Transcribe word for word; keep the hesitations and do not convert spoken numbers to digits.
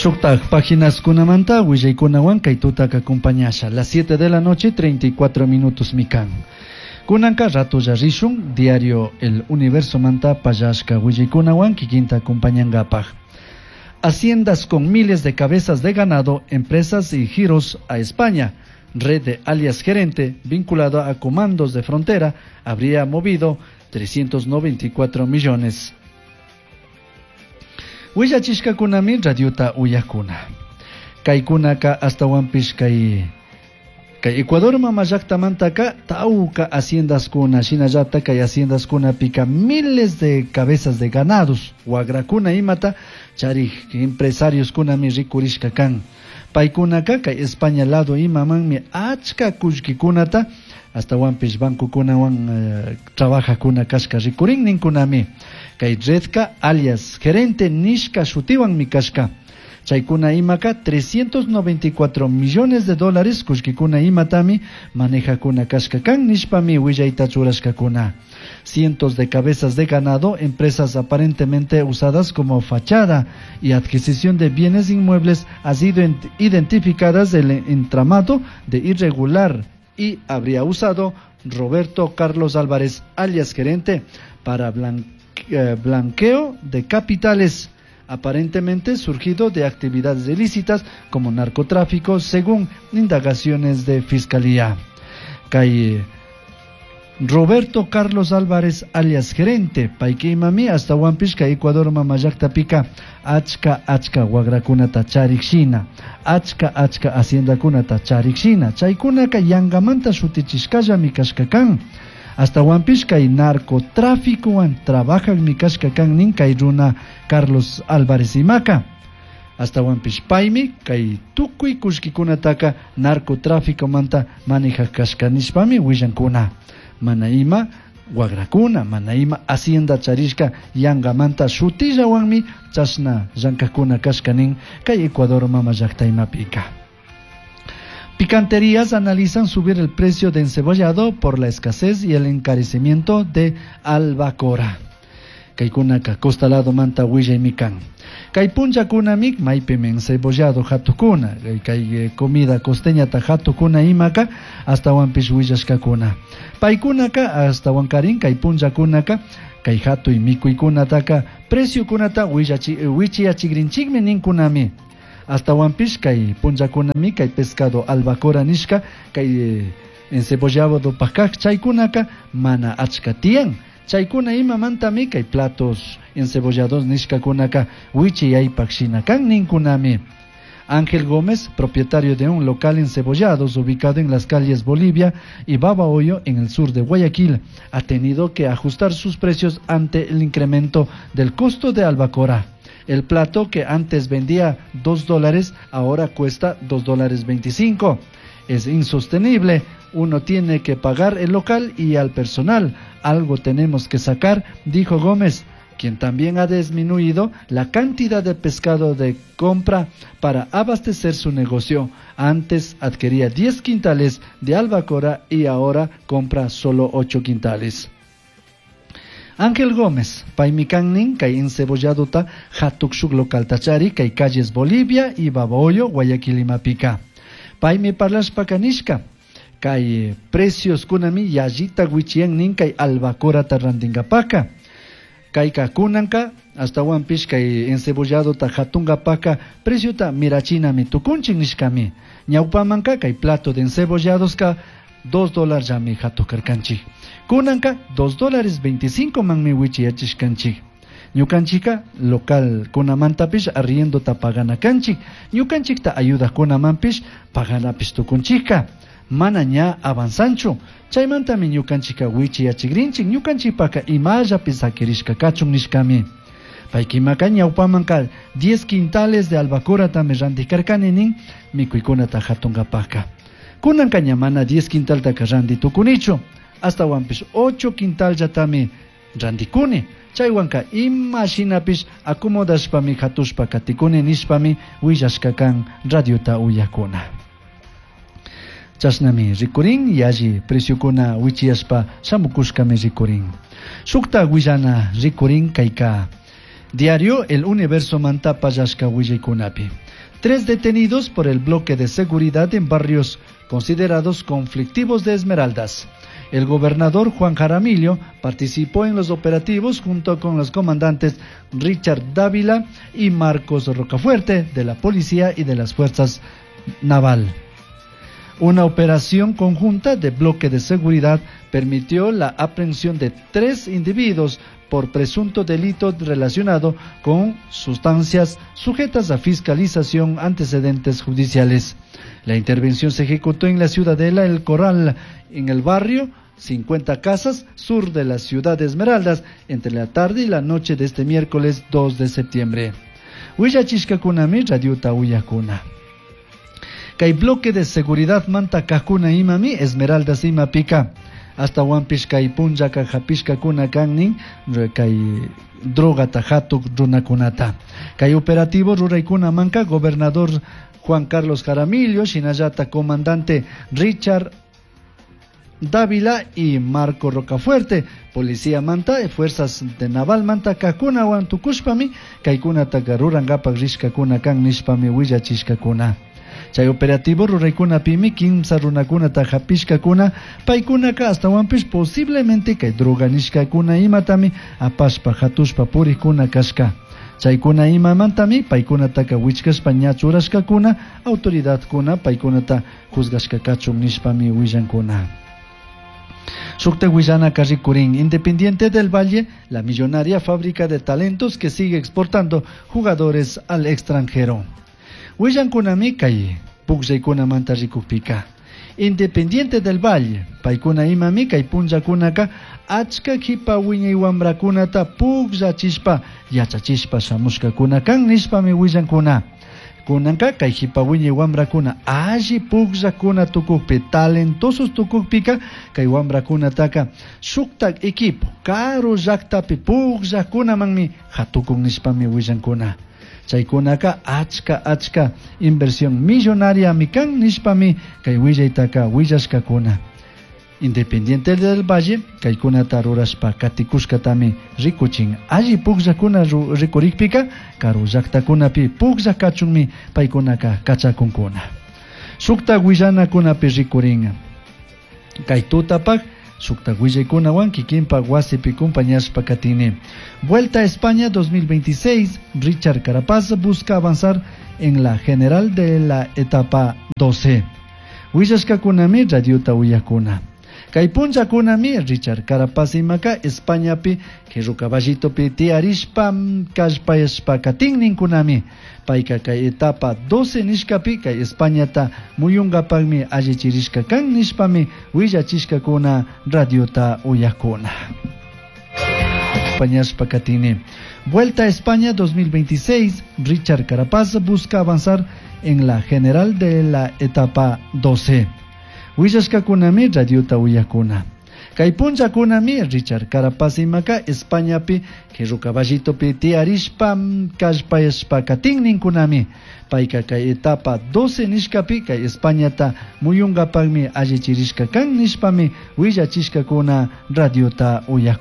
Shuktak paginaskunamanta willaykunawan kay tutaka acompañasha. Las siete de la noche, treinta y cuatro minutos mi kan. Kunanka ratolla rishun diario El Universo manta pallashka willaykunawan kikinta acompañangapaj. Haciendas con miles de cabezas de ganado, empresas y giros a España. Red de alias gerente vinculado a comandos de frontera habría movido trescientos noventa y cuatro millones. Willachishkakunami radiota uyakuna. Kaykunaka astawanpish kay kay Ecuador mama llaktamantaka tawka haciendaskuna, shinallata kay haciendaskunapika miles de cabezas de ganados, wagrakuna imata charik empresarioskunami rikurishka kan. Paykunaka kay España lado imamanmi achka kullkikunata astawanpish bancokunawan eh, trabajakuna kashka rikurin ninkunami. Kay redka alias gerente nishka shutiwanmi kashka. Chaykuna imaka trescientos noventa y cuatro millones de dólares kullkikuna imatami manejakuna kashka kan nishpami willayta churashkakuna. Cientos de cabezas de ganado, empresas aparentemente usadas como fachada y adquisición de bienes inmuebles, han sido identificadas del entramado de irregular y habría usado Roberto Carlos Álvarez, alias gerente, para eh, blanqueo de capitales aparentemente surgido de actividades ilícitas como narcotráfico, según indagaciones de fiscalía. Kay Roberto Carlos Álvarez, alias gerente, payka imami astawanpish kay Ecuador mama llaktapika achka achka wagrakunata charik shina, achka achka haciendakunata charik shina, chaykunaka yangamanta shutichishkallami kashka kan. Astawanpish kay narcotráficowan trabajakmi kashka kan nin kay runa Carlos Álvarez imaka. Astawanpish paymi kay tukuy kullkikunataka narcotráficomanta manejak kashka nishpami willankuna. Mana ima wagrakuna, mana ima hacienda charishka yangamanta shutillawanmi chashna llankakuna kashka nin kay Ecuador mama llakta imapika. Picanterías analizan subir el precio de encebollado por la escasez y el encarecimiento de albacora. Kaykunaka costa lado manta willaymi kan. Kay punllakunami maypimi encebollado hatukuna, kay eh, comida costeñata hatukuna imaka astawanpish willashkakuna. Paykunaka astawankarin kay punllakunaka kay hatuy mikuykunataka preciokunata wichiyachigrinchikmi ninkunami. Astawanpish kay punllakunami kay pescado albacora nishka kay eh, encebollado pakak chaykunaka mana achka tiyan. Chaykuna imamantami kay platos encebollados nishkakunaka wichiyaypak shina kan ninkunami. Ángel Gómez, propietario de un local encebollados ubicado en las calles Bolivia y Babahoyo en el sur de Guayaquil, ha tenido que ajustar sus precios ante el incremento del costo de albacora. El plato que antes vendía dos dólares ahora cuesta dos dólares veinticinco. Es insostenible. Uno tiene que pagar el local y al personal. Algo tenemos que sacar, dijo Gómez, quien también ha disminuido la cantidad de pescado de compra para abastecer su negocio. Antes adquiría diez quintales de albacora y ahora compra solo ocho quintales. Ángel Gómez, paymi kan nin kay encebolladuta hatuk shuk localta chari kay calles Bolivia y Babahoyo, Guayaquil imapika. Paymi parlashpaka nishka, kay precios kunami yallita wichiyan nin kay albacorata rantingapaka. Kayka kunanka astawanpish kay encebolladuta hatungapaka preciota mirachinami tukunchin nishkami. Ñawpamanka kay plato de encebolladoska dos dólares llami hatukarkanchik. Kunanka dos dólares veinticinco manmi wichiyachishkanchik. Ñukanchika local kunamantapish arriendota pagana kanchik. Ñukanchikta ayudakunamanpish paganapish tukunchika. Mana ña avanzanchu. Chaymantami ñukanchika wichiyachigrinchik. Ñukanchikpaka imallapi sakirishka kachun nishkami. Paykimaka ñawpamanka diez quintales de albacoratami rantikarkani nin mikuykunata hatungapaka. Kunanka ña mana diez quintaltaka ranti tukunichu. Astawanpish ocho quintallatami rantikuni. Chaywanka ima shinapish acomodashpami hatushpa katikuni nishpami willashka kan radiota uyakuna. Chashnami rikurin yalli preciokuna wichiyashpa shamukushkami rikurin. Shukta willana rikurin kayka Diario El Universo manta pallashka willaykunapi. Tres detenidos por el bloque de seguridad en barrios considerados conflictivos de Esmeraldas. El gobernador Juan Jaramillo participó en los operativos junto con los comandantes Richard Dávila y Marcos Rocafuerte de la Policía y de las Fuerzas Naval. Una operación conjunta de bloque de seguridad permitió la aprehensión de tres individuos por presunto delito relacionado con sustancias sujetas a fiscalización antecedentes judiciales. La intervención se ejecutó en la ciudadela El Corral, en el barrio cincuenta Casas, sur de la ciudad de Esmeraldas, entre la tarde y la noche de este miércoles dos de septiembre. Huillachishkakunami radiota uyakuna. Kay bloque de seguridad manta kakuna imami Esmeraldas imapika. Hasta wampish kay punllaka hapishkakuna kannin kay drogata hatuk runakunata. Kay operativo ruraykuna manka gobernador Juan Carlos Jaramillo, shinallata comandante Richard Dávila y Marco Rocafuerte, policía manta, fuerzas de naval manta kakuna wan tukushpami kaykunataka rurankapak rishkakuna kan nishpami willachishkakuna. Chay operativo ruraykuna pimi kimsa runakunata hapishkakuna paykunaka astawanpish posiblemente kay droga nishkakuna imatami apashpa hatushpa purikuna kashka. Chaykuna imamantami paykunataka wichkashpa ña churashkakuna autoridadkuna paykunata juzgashka kachun nishpami willankuna. Shukta willana karrikurin, Independiente del Valle, la millonaria fábrica de talentos que sigue exportando jugadores al extranjero. Willankunami kay pukllaykunamanta rikukpika. Independiente del Valle, paykuna imami kay punllakunaka achka kipa wiñay wamrakunata pukllachishpa yachachishpa shamushkakuna kan nishpami willankuna. Kunanka kay hipa wiñay wamrakuna alli pukllakuna tukukpi talentosos tukukpika kay wamrakunataka shuktak equipo karu llaktapi pukllakunamanmi hatukun nishpami willankuna. Chaykunaka achka achka inversión millonaria mikan nishpami kay willaytaka willashkakuna. Independiente del Valle kaykunata rurashpa katikushkatami rikuchin. Alli pukllakuna rikurikpika karu llaktakunapi pukllakachunmi paykunaka kachakunkuna. Shukta willanakunapi rikurin. Kay tutapak shukta willaykunawan kikinpak wasipi compañashpa katini. Vuelta a España dos mil veintiséis, Richard Carapaz busca avanzar en la general de la etapa doce. Willashkakunami radiota uyakuna. Kay punllakunami Richard Carapaz imaka Españapi qhirru caballitopi tiyarishpa kallpayashpa katinninkunami. Payka kay etapa doce nishkapi kay Españata muyunkapakmi allichirishka kan nishpami willachishkakuna radiota uyakuna. Pañashpa katini. Vuelta a España dos mil veintiséis, Richard Carapaz busca avanzar en la general de la etapa doce. Willashkakunami radiota uyakuna. Kay punllakunami Richard Carapaz imaka Españapi qhirru caballitopi tiyarishpa kallpayashpa katinninkunami. Payka kay etapa doce nishkapi kay Españata muyunkapakmi allichirishka kan nishpami willachishkakuna radiota uyakuna.